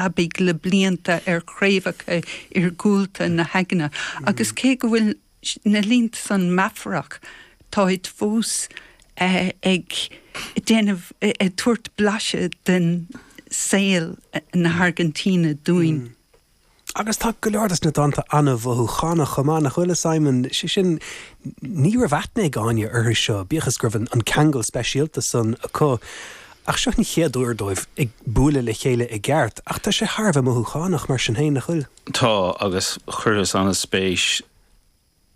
Aibigh le blianta ar chraobhacha iargúlta na haigne, agus cé go bhfuil na línte san meafarach, táid fós ag déanamh, ag tabhairt blaiseadh den saol na hAirgintíne dúinn. Agus tá go leor des na dánta an-mhothúchánach chomh maith, nach bhfuil, a Simon? Sé sin, ní raibh aithne ag Áine orthu seo, bíodh is go raibh an ceangal speisialta san acu. Ach seo an chéad uair dóibh ag bualadh le chéile i gceart, ach tá sé thar a bheith mothúchánach mar sin féin, nach bhfuil? Tá, agus chuireas an-spéis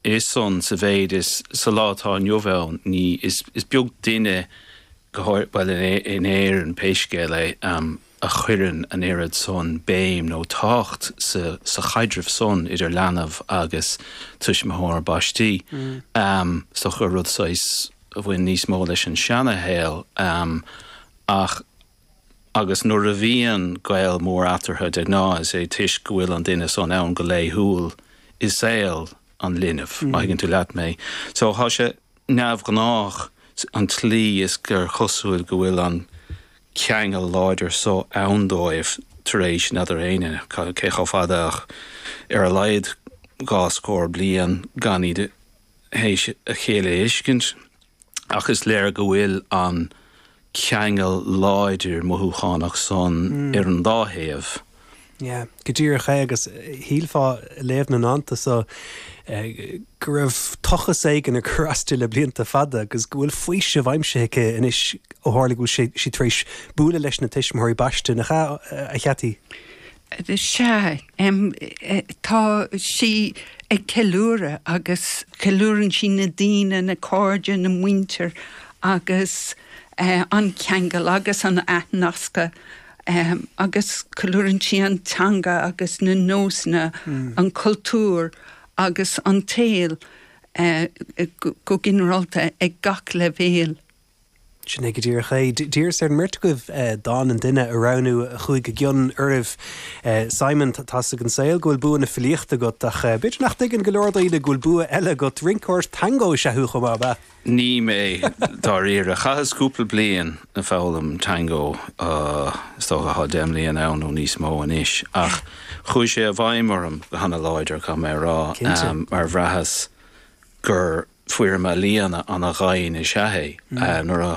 i san sa mhéid is sa lá atá inniu ann, ní, is beag duine, go háirithe, bhuel, in Éirinn pé scéal é, a chuireann an oiread san béim nó tábhacht sa sa chaidreamh san idir leanbh agus tuismitheoir baistí. Is dócha gur rud saghas a bhain níos mó leis an seana-shaol ach agus nuair a bhíonn gaol mór eatarthu de ghnáth is é toisc go bhfuil an duine san ann go laethúil i saol an linbh, má thuigeann tú leat mé. So tá sé neamhghnách an tslí is gur chosúil go bhfuil an ceangal láidir so ann dóibh tar éis n'fheadar éinne cé chomh fada ach ar a laghad dhá scór bliain gan iad théis a chéile a fheiscint, ach is léir go bhfuil an ceangal láidir mothúchánach san ar an dá thaobh. Yeah, go díreach é, agus shílfeá ag léamh na ndánta so go raibh tochas éigin ag cur as di le blianta fada agus go bhfuil faoiseamh aimsithe aici anois ó tharla go bhfuil sí tar éis bualadh leis na tuismitheoirí baiste, nach ea, a Cheaití? Sea, tá sí ag ceiliúradh agus ceiliúrann sí na daoine, na cairde, na muintir agus an ceangal agus an athnascadh agus ceiliúrann sí an teanga agus na nósanna, an cultúr agus an tsaol go ginearálta ag gach leibhéal. Sin é go díreach é. D'iarras ar an mbeirt agaibh dán an duine a roghnú a chuaigh i gcion oraibh. Simon, tá 'fhios ag an saol go bhfuil bua na filíochta agat ach b'fhéidir nach dtuigeann go leor daoine go bhfuil bua eile agat. Rinceoir tangó is ea thú chomh maith, ab ea? Ní mé, dáiríre. Chaitheas cúpla bliain ag foghlaim tangó, is dócha tá 10 mbliana ann nó níos mó anois, ach chuaigh sé i bhfeidhm orm go hana-láidir, caithfidh mé a rá, mar bhraitheas gur foirm ealaíona ana-dhoimhin is ea é. Nuair a.